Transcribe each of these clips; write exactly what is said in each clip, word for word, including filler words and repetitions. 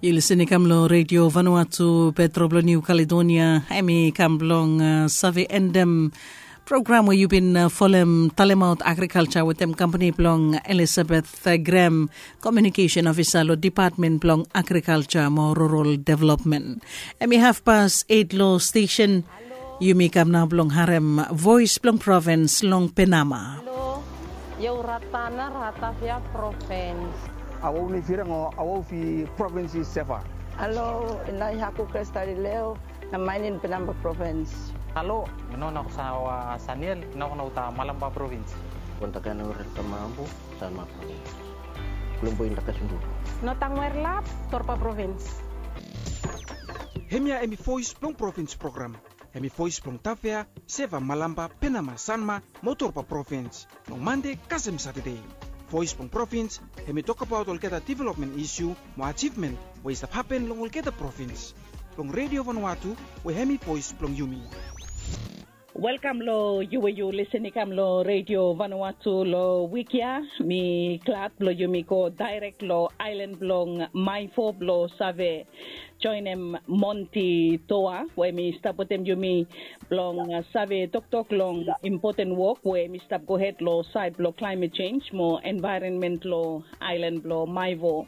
Yu lisen i kam long Redio Vanuatu, Petro blong Niu Kaledonia. Em i kam blong uh, save endem program we yu bin uh, folem talemaot agrikalcha wetem kampani blong Elizabeth uh, Graham, komiunikesen ofisa long Dipatmen blong Agrikalcha mo Rural Developmen. Em i hafpas eit long stesen. Yumi kam nao blong harem voes blong provins long Penama. Halo, io u Ratana, Ratavia provins. Aua u ni firang o aua u fi provins i seva. Halo, inai haku Kristalileo, na mainin Penama provins. Halo, ino na kusawa Saniel, ino na uta Malamba provins. Kontakan ore tamambu, Sanma provins. Kulumbu inda kasundu. Notang Werlap, Torpa provins. Hemia emi voes blong provins program. Hemi voes blong Tafea, Seva, Malamba, Penama, Sanma mo Torpa provins. Long Mande kasem Satade. Voes blong provins, hemi tokbaot olgeta developmen isu mo ajivmen we i stap hapen long olgeta provins. Blong Redio Vanuatu, we hemi voes blong yumi. Welkam long yu we yu lisen i kam long Redio Vanuatu long wik ya. Mi glad blong yumi go daerek long aelan blong Maivo blong save joenem Monti Toa we mi stap wetem yumi blong uh, save toktok long impoten wok we mi stap gohed long saed blong klaemet jenj mo envaeronmen long aelan blong Maivo.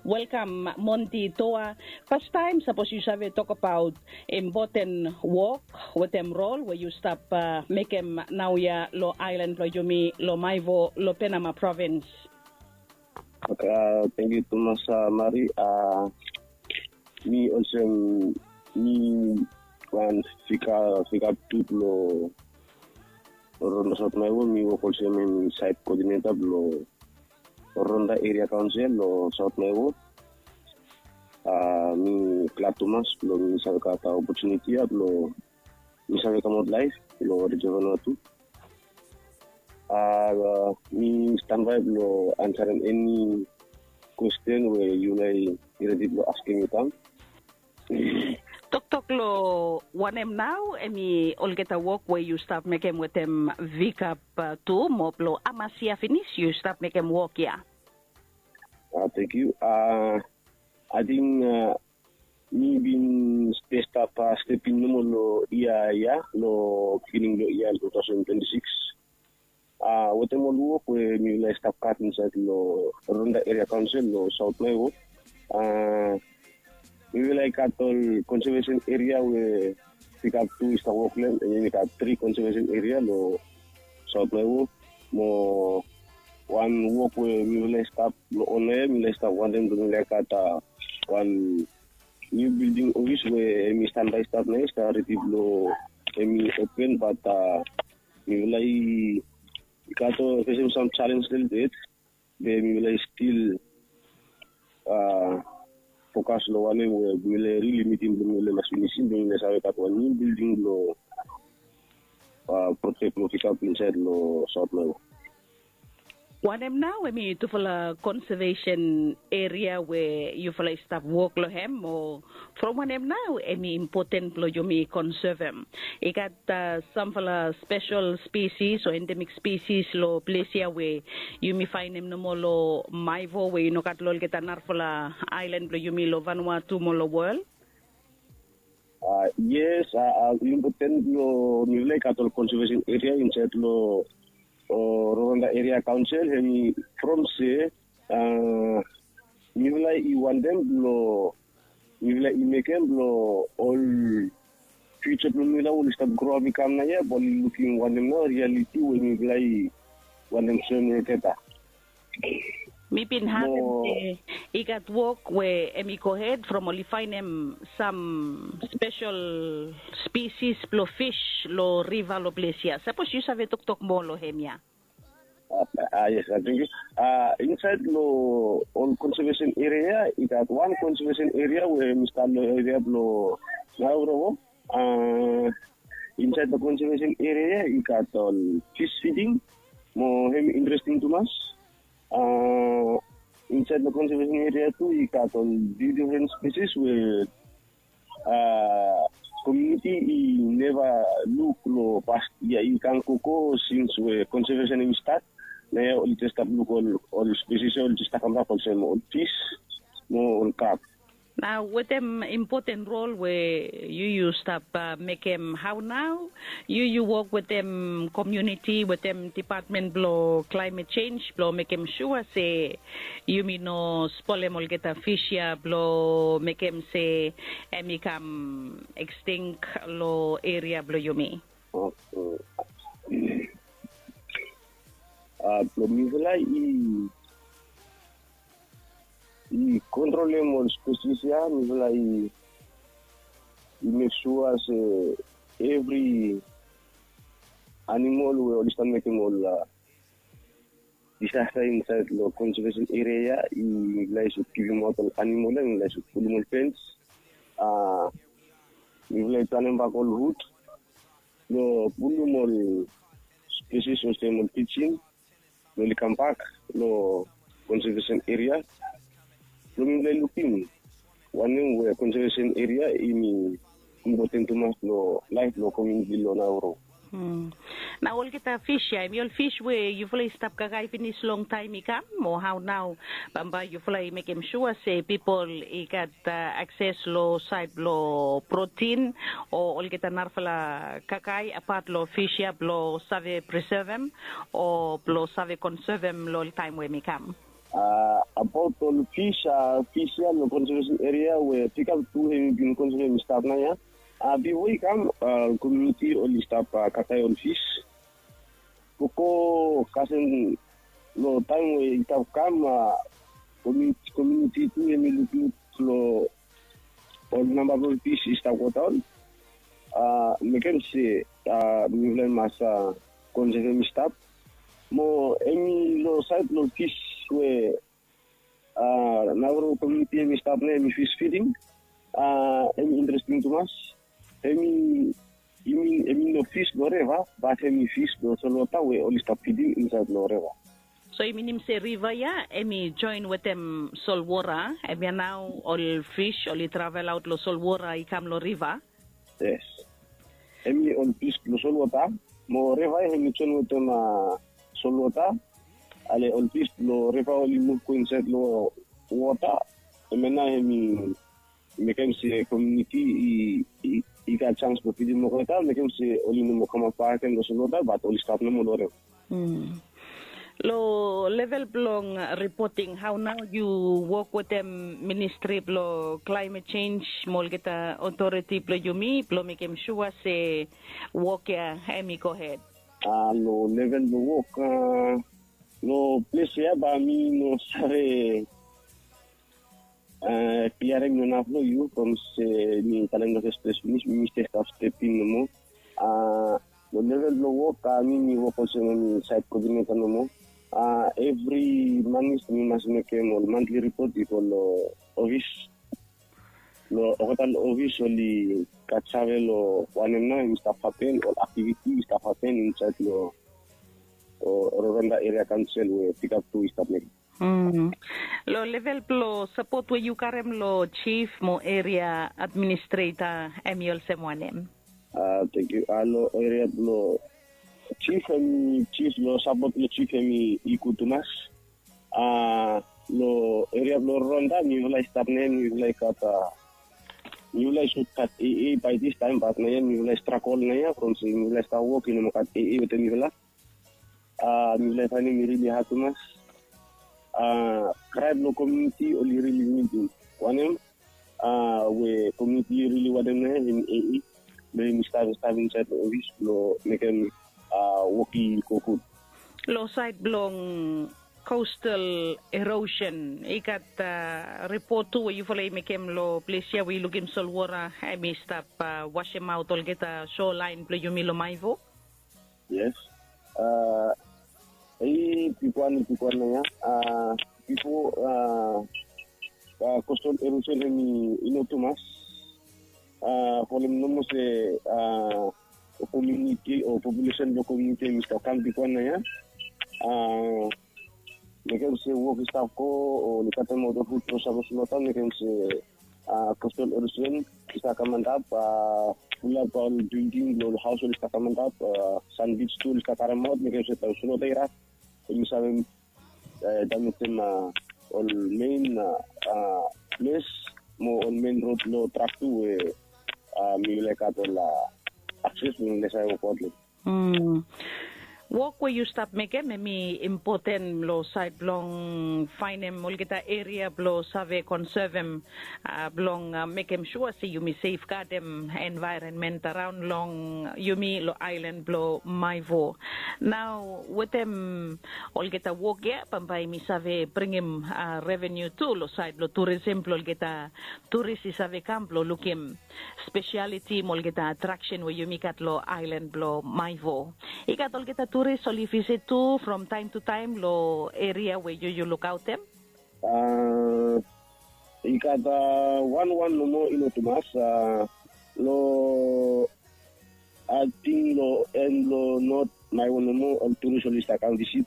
Welkam Monti Toa. Fastaem sapos yu save tokbaot impoten wok wetem rol we yu stap uh, mekem naoia long aelan blong yumi long Maivo long Penama provins. Okay, uh, thank you tumas uh, Mari. Uh, mi olsem mi wan fika fika tu blong Ronda South Maivo, mi wok olsem mi site coordinator blong Ronda Area Council long South Maivo. Uh, mi glad tumas blong mi save gat opportunity ya blong mi save kamaot laef long Redio Vanuatu. Uh, mi standby blong ansarem eni kwesten we yu laik redi blong askem mi kam. Toktok long wanem nao emi olgeta wok we yu stap mekem wetem Vikap uh, tu mo blong hamas yia finis yu stap mekem wok ya? Uh, thank you. Uh, I think uh, mi bin stap uh, stepin nomo long yia ya long beginning blong yia two thousand twenty-six. Uh, wetem ol wok we mi laik stap gat insaed long Ronda Area Council long South Maivo. Uh, mi laik gat ol conservation area we Vikap tu i stap wok long hem, and then i gat three conservation area long South Maivo. Mo wan wok we mi laik stap long ona ya, mi laik stap wantem blong mi laik gat uh, wan niu bilding ofis we hemi standby stap nao ya, i stap redi blong hemi open, but uh, mi laik i gat ol fesem sam chalens lelebet. Be mi laik stil uh, fokas long wanem we mi laik rili mitim blong mi laik mas finisim blong mi laik save gat wan niu bilding blong uh, project blong Vikap insaed long South Maivo. Wanem nao hemi tufala conservation area we yufala i stap wok long hem, o from wanem nao hemi impoten blong yumi konsevem? I gat uh, samfala spesel spesis o endemik spesis long ples ya we yumi faenem nomo long Maivo we i no gat long olgeta narafala aelan blong yumi long Vanuatu mo long wol? Uh, yes, uh, uh, impoten blong mifala i gat ol conservation area insaed long uh, Rwanda Area Council, hemi from se uh, mifala i wantem blong mifala i mekem blong ol future blong mifala oli stap groap i kam naoia, blong oli lukim wanem nao reality we mifala i wantem soem olgeta. Mi bin harem se i gat wok we hemi gohed from oli faenem sam spesel spesis blong fis long riva long ples ya. Sapos yu save toktok moa long hemia. Ah, yes, I think uh, insaed long ol conservation area ya, i gat wan conservation area we hemi stap long area blong Nauroko. Uh, insaed long conservation area ya, i gat ol fish feeding, mo hemi interesting tumas. Uh, insaed long conservation area tu, i gat ol different spesis we uh, komuniti i neva luk long past yia i kam gogo sins we conservation hemi stat. Naoia oli jes stap luk ol ol spesis ya oli jes stap kambak olsem ol fis mo ol kap. Nao wetem impoten rol we yu yu stap mekem, hao nao yu yu wok wetem komuniti, wetem depatmen blong klaemet sens blong mekem sua se yumi no spolem olgeta fis ya blong mekem se em i kam ekstink long eria blong yumi? Blong mifala i i kontrolem ol spesis ya, mifala i i mek sua se evri animol we oli stap mekem ol disasta insaed long konsevesen eria ya, i mifala i sud givimaot ol animol ya, mifala i sud pulum ol fens. Mifala i planem bak ol rut blong pulum ol spesis olsem ol pijin blong oli kambak long konsevesen eria blong mifala i lukim wanem we konsevesen eria i mi impoten tumas long laef blong komuniti long Nauru. Na olgeta fis ya em i ol fis we yufala i stap kakae finis long taem i kam, o hao nao bambae yufala i mekem sua se pipol i gat akses long saed blong protin o olgeta narafala kakae apat long fis ya blong save presevem o blong save konsevem long ol taem we mi kam? Abaot ol fis, fis ya long konsevesen eria we pikap tu hem i bin konsevem i stap nao ya. Bifo i kam komuniti oli stap kakae ol fis. Gogo kasem long taem we i stap kam, komuniti tu hem i lukluk long ol namba blong ol fis i stap godaon. Mekem se mifala i mas konsevem i stap. Mo hem i long saed blong ol fis we Nauru komuniti hem i stap nao hem i fis fiding. Hem i interesting tumas. Hem i hem i no fis blong reva bat hem i fis blong solwota we oli stap fidim insaed long reva. So i minim se riva ya hem i joen wetem solwota, hemia nao ol fis oli travelaot long solwota i kam long riva? Yes. Hem i ol fis blong solwota mo riva ya hem i joen wetem solwota. Ale ol fis blong riva oli muv go insaed long wota. Hemia nao hem i mekem se komuniti i gat sans blong fidim olgeta, mekem se oli no moa kamap bakegen long solwota bat oli stap nomo long riva. Long level blong ripoting, hao nao yu wok wetem ministri blong klaemet sens mo olgeta otoriti blong yumi blong mekem sua se wok ya hem i gohed? Long level blong wok, long ples ya bae mi no save kliarim long naf long yu from se mi talem long fes ples finis, mi stap step in nomo. Long level blong wok, mi mi wok olsem mi saed koodineta nomo. Evri manis mi mas mekem ol mantli ripot i go long ofis. Long olgeta long ofis oli gat save long wanem nao hem i stap hapen, ol aktiviti i stap hapen insaed long Rwanda Eria Kaonsel we pikap tu i stap mekem. Long level blong sapot we yu karem long jif mo eria administreta, hem i olsem wanem? Tangkiu. Long eria blong jif, hem i jif long sapot blong jif hem i gud tumas. Long eria blong Rwanda mifala i stap nao ya, mifala i gat mifala i sud gat aa bae distaem bat nao ya mifala i stragol nao ya from se mifala i stap wok i no moa gat aa wetem mifala. Mifala i faenem i rili had tumas. Kraem long komuniti oli rili nidim wanem we komuniti i rili wanem nao ya hem i aa blong hem i stap stap insaed long ofis blong mekem wok i go gud. Long saed blong kostal erosen i gat ripot tu we yufala i mekem long ples ya we i lukim solwota hem i stap wasemaot olgeta solaen blong yumi long Maivo. Yes. Hei bigwan i bigwan nao ya. Bifo kostal erosen hem i no tumas. Folem nomo se komuniti o populesen blong komuniti hem i stap kam bigwan nao ya. Mekem se wok i stap go o oli katemaot ol fud blong sapos long taon mekem se kostal erosen i stap kam antap. Fulap ol bilding blong ol haos oli stap kam antap. Sanbij tu oli stap karemaot mekem se taon solwota i rap hem i save damejem ol mein ples mo ol Lo trak tu we mi laik gat ol akses we mi laik save wokbaot lo. Wok we yu stap mekem hemi impoten lo saed blong faenem olgeta eria blo save konsevem, blong mekem sua se yumi sefgadem envaeronmen araon long yumi lo aelan blo Maewo. Nao wetem olgeta wok ya bambae mi save bringim revenu tu lo saed blo turisem blo olgeta turis i save kam blo lukim spesialiti mo olgeta atraksen we yumi gat lo aelan blo Maewo. I gat olgeta turis oli visit tu from taem tu taem lo eria we yu yu lukaotem. I gat wanwan nomo i no tumas. Lo ating lo en lo not Maewo nomo ol turis oli stap kam visit.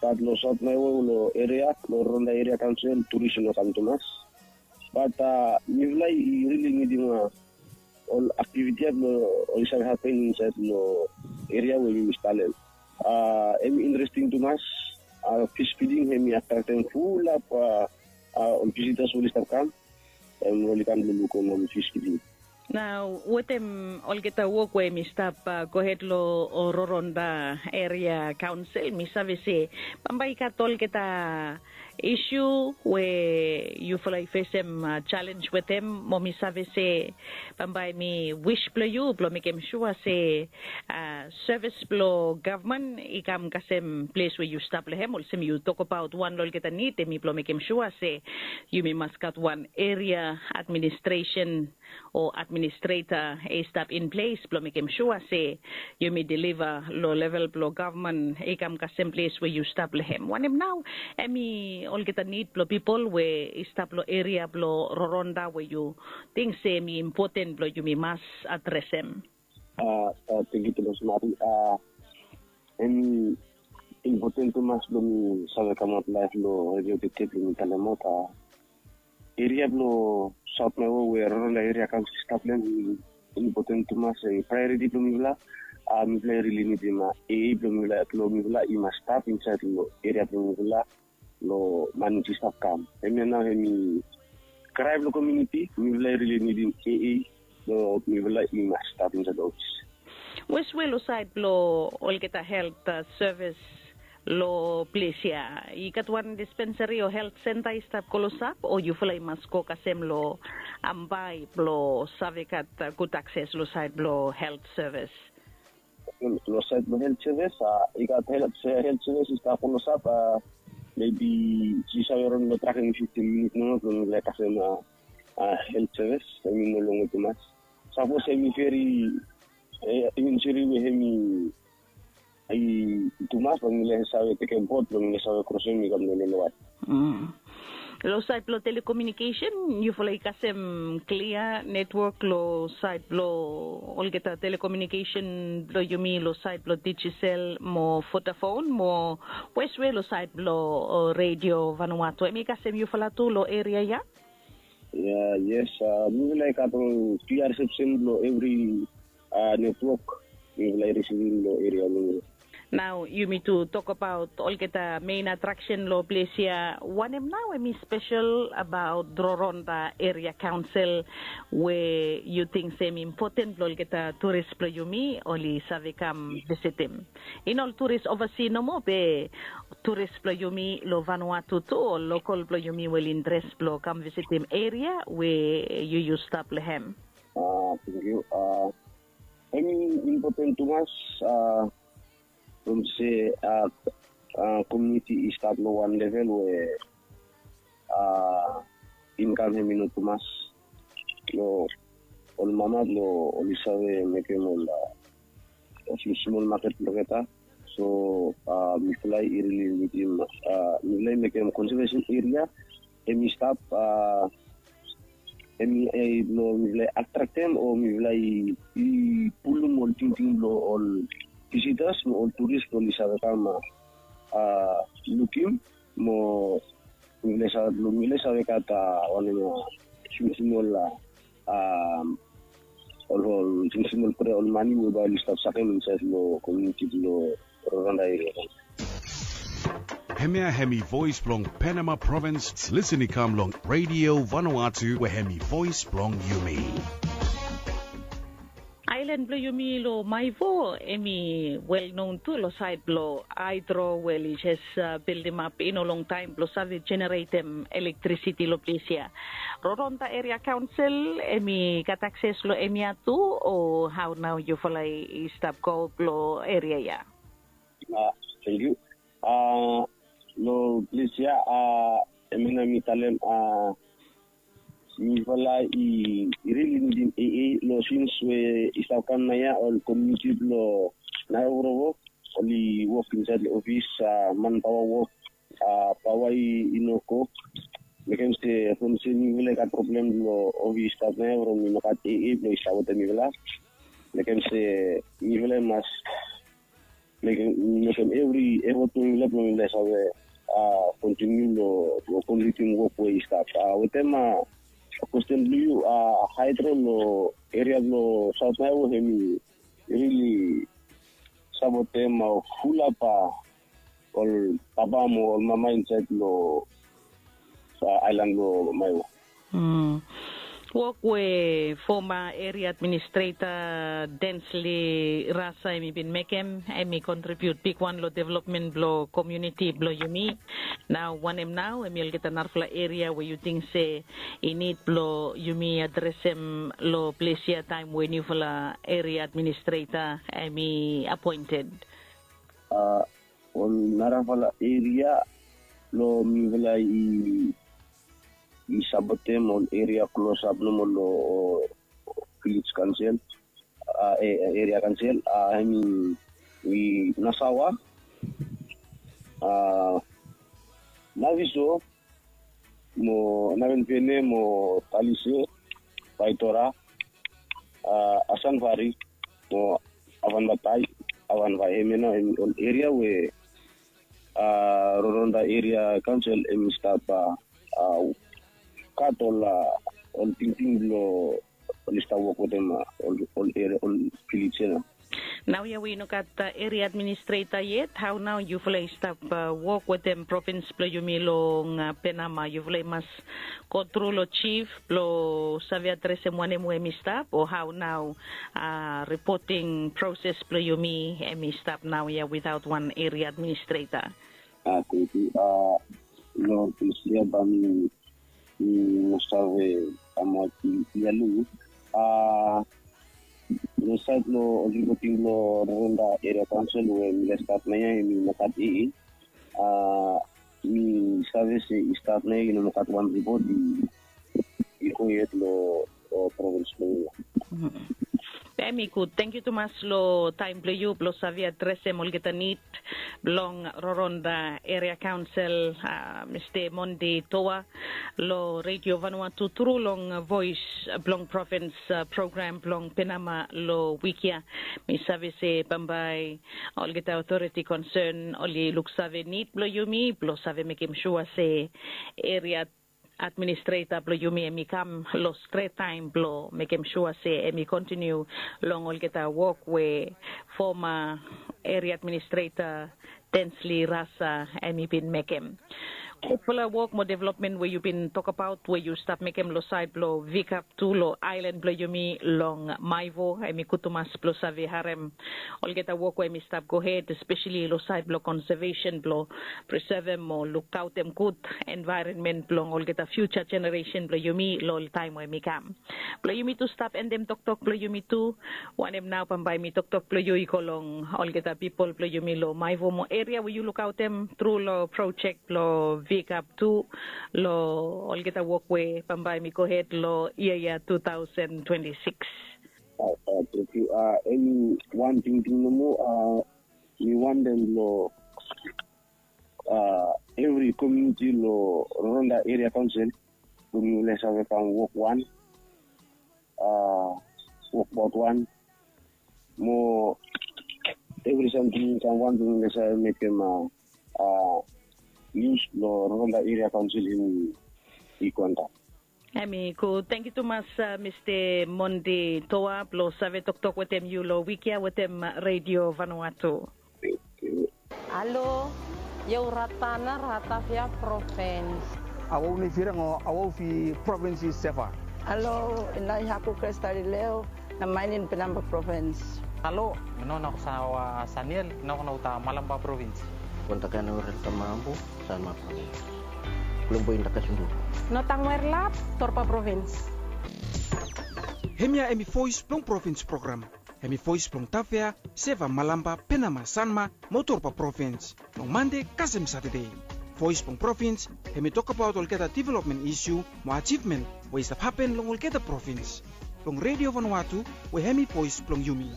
Bat lo saot Maewo lo eria lo Rorotonga Eria Kaonsel turis i no kam tumas. Bat mifala i rili nidim ol aktiviti ya blo oli save hapen insaed lo eria we yumi stap lo hem. Hem i interesting tumas. Fish feeding hem i atraktem fulap ol visitas we oli stap kam. Hem oli kam blo lukim ol fish feeding. Nao wetem olgeta wok we hem i stap gohed lo Rorotonga Eria Kaonsel, mi save se bambae i gat olgeta isu we yufala i fesem jalenj wetem, mo mi save se bambae mi wis blo yu blo mekem sua se sevis blo gavman i kam kasem ples we yu stap lo hem, olsem yu tokbaot wan lo olgeta nid hemi blo mekem sua se yumi mas gat wan eria administresen o administreta i stap in ples blo mekem sua se yumi deliva lo level blo gavman i kam kasem ples we yu stap lo hem. Wanem nao hemi olgeta nid blo pipol we i stap lo eria blo Rorotonga we yu ting se hemi impoten blo yumi mas adresem? Tangkiu tumas Mari. Hemi impoten tumas blo mi save kamaot laef lo redio Tete blo mi talemaot eria blo saot Maewo we Rorotonga Eria Kaonsel i stap lo hem. Impoten tumas, hemi praeoriti blo mifala. Mifala i rili nidim eei blo mifala i mas stap insaed lo eria blo mifala. Lo manis i stap kam hemia nao hemi krae blo komuniti. Mifala i rili nidim eei blo mifala i mas stap insaed lo ofis. Weswe lo saed blo olgeta helt sevis lo ples ya, i gat wan dispensari o helt senta i stap klosap o yufala i mas go kasem lo Ambae blo save gat gud akses lo saed blo helt sevis? Lo saed blo helt sevis i gat helt sevis i stap klosap. Mebi yu save ron lo trakem fiftin minit nomo blo mifala i kasem helt sevis. Hemi no longe tumas. Sapos hemi veri, hemi siri we hemi i tumas, blo mifala i save tekem bot blo mifala i save krosem i kam lo loloat. Lo saed blo telekomunikesen yufala i kasem klia netwok lo saed blo olgeta telekomunikesen blo yumi lo saed blo Digicel mo Vodafone mo weswe lo saed blo Redio Vanuatu hemi kasem yufala tu lo eria ya? Ya, yes. Mifala i gat ol klia risepsen blo evri netwok mifala i risivim lo eria blo mifala. Nao yumi tu tokbaot olgeta mein atraksen lo ples ya. Wanem nao hemi spesel abaot Rorotonga Eria Kaonsel we yu ting se hemi impoten blo olgeta turis blo yumi oli save kam visitim? I no ol turis ovasi nomo be turis blo yumi lo Vanuatu tu, ol lokol blo yumi we oli interes blo kam visitim eria we yu yu stap lo hem? Tangkiu. Hemi impoten tumas from se komuniti i stap lo wan level we inkam hemi no tumas lo ol mama blo oli save mekem ol smosmol maket blo olgeta. So mifala i rili nidim, mifala i mekem konsevesen eria hemi stap, hemi blo mifala i atraktem o mifala i pulum ol tingting blo ol visitas mo ol turis blo oli save kam lukim mo mifala i save gat wanem, smosmol ol ol smosmol pre ol mane we bae oli stap sakem insaed lo komuniti blo Rorotonga Eria Kaonsel. Hemia hemi voes blong Penama provins. Lisen i kam long Radio Vanuatu we hemi voes blong yumi. Aelan blong yumi long Maevo hemi welnon tu long saed blong haedro we oli jes bildimap i no longtaem blong save jeneretem elektrisiti long ples ya. Roronda Eria Kaonsel hemi gat akses long hemia tu, o hao nao yufala i stap go blong eria ya? Tangkiu. Long ples ya, hemia nao mi talem, mifala i rili nidim AA long sins we i stap kam naoia ol komuniti blong Nairobi oli wok insaed long ofis, manpaoa wok, paoa i no go. Mekem se from se mifala i gat problem long ofis i stap naoia from i no gat AA blong i stap wetem mifala. Mekem se mifala i mas mekem evri efot blong mifala blong mifala i save kontiniu long komplitim wok we i stap. Wetem kwesten blong yu, haedro long eria blong Saot Maevo hemi rili sapotem fulap ol papa mo ol mama insaed long aelan blong Maevo. Wok we foma eria administreta Densli Rasa hemi bin mekem hemi kontribiut bigwan long developmen blong komuniti blong yumi. Nao wanem nao hemi olgeta narafala eria we yu ting se i nid blong yumi adresem long ples ya taem we niufala eria administreta hemi apoented? Ol narafala eria blong mifala i sapotem ol eria klosap nomo long vilej kaonsel, eria kaonsel, hemi Nasawa, Naviso, mo Navenpene mo Talise, Vaitora, Asanvari mo Avanvatai, Avanvai. Hemia nao hemi ol eria we Roronda Eria Kaonsel hemi stap gat ol ol tingting blong oli stap wok wetem ol eria, ol vilej ya nao. Naoia we i no gat eria administreta yet, hao nao yufala i stap wok wetem provins blong yumi long Penama? Yufala i mas go tru long jif blong save adresem wanem we hemi stap, o hao nao ripoting proses blong yumi hemi stap naoia witaot wan eria administreta? Tangkiu. Long ples ya bae mi mi no save kamap ia long yu. Long saed long ol ripoting blong Roronda Eria Kaonsel we mifala i stap naoia hemi no gat AA. Mi save se i stap naoia i no gat wan ripot i go yet long provins blong yumi. Hemi gud. Tangkiu tumas long taem blong yu blong save adresem olgeta nid blong Roronda Eria Kaonsel, Mista Monde Toa, long Redio Vanuatu tru long Voes blong Provins program blong Penama long wik ya. Mi save se bambae olgeta otoriti konsen oli luksave nid blong yumi blong save mekem sua se eria administreta blong yumi hemi kam long stret taem blong mekem sua se hemi kontiniu long olgeta wok we foma eria administreta Densli Rasa hemi bin mekem. Gudfala wok mo developmen we yu bin tokbaot we yu stap mekem long saed blong Vikap tu long aelan blong yumi long Maevo, hemi gud tumas blong save harem olgeta wok we hemi stap gohed, espeseli long saed blong konsevesen blong presevem mo lukaotem gud envaeronmen blong olgeta fiuja jeneresen blong yumi long ol taem we hemi kam. Blong yumi tu stap endem toktok blong yumi tu, wanem nao bambae mi toktok blong yu i go long olgeta pipol blong yumi long Maevo mo eria we yu lukaotem tru long projek blong Vikap tu long olgeta wok we bambae hemi gohed long yia ya tu taosen twenti sikis? Tangkiu. Hemi wan tingting nomo mi wantem long evri komuniti long Roronda Eria Kaonsel blong mifala i save kam wok wan, wokbaot wan mo evri samting i kam wan blong mifala i save mekem nius blong Roronda Eria Kaonsel hemi i go antap. Hemi gud. Tangkiu tumas Mista Monde Toa blong save toktok wetem yu long wik ya wetem Redio Vanuatu. Halo. Io Ratana, Ratavia Provins. Awau ni Firang o awau fi provins i Seva. Alo, inai haku Kresta Lileo, na mainin Penamba Provins. Alo, mi no na kusawa Saniel, na kuna uta Malamba Provins. Kontakan ore tamabu, Sanma Provins. Kulumbu inda kasundu. No tangwer lap, Torpa Provins. Hemia hemi voes blong provins program. Hemi voes blong Tavea, Seva, Malamba, Penama, Sanma, mo Torpa Provins. Long Mande kasem Satade. Voes blong provins, hemi tokbaot olgeta developmen isiu mo ajivmen we i stap hapen long olgeta provins. Long Redio Vanuatu, we hemi voes blong yumi.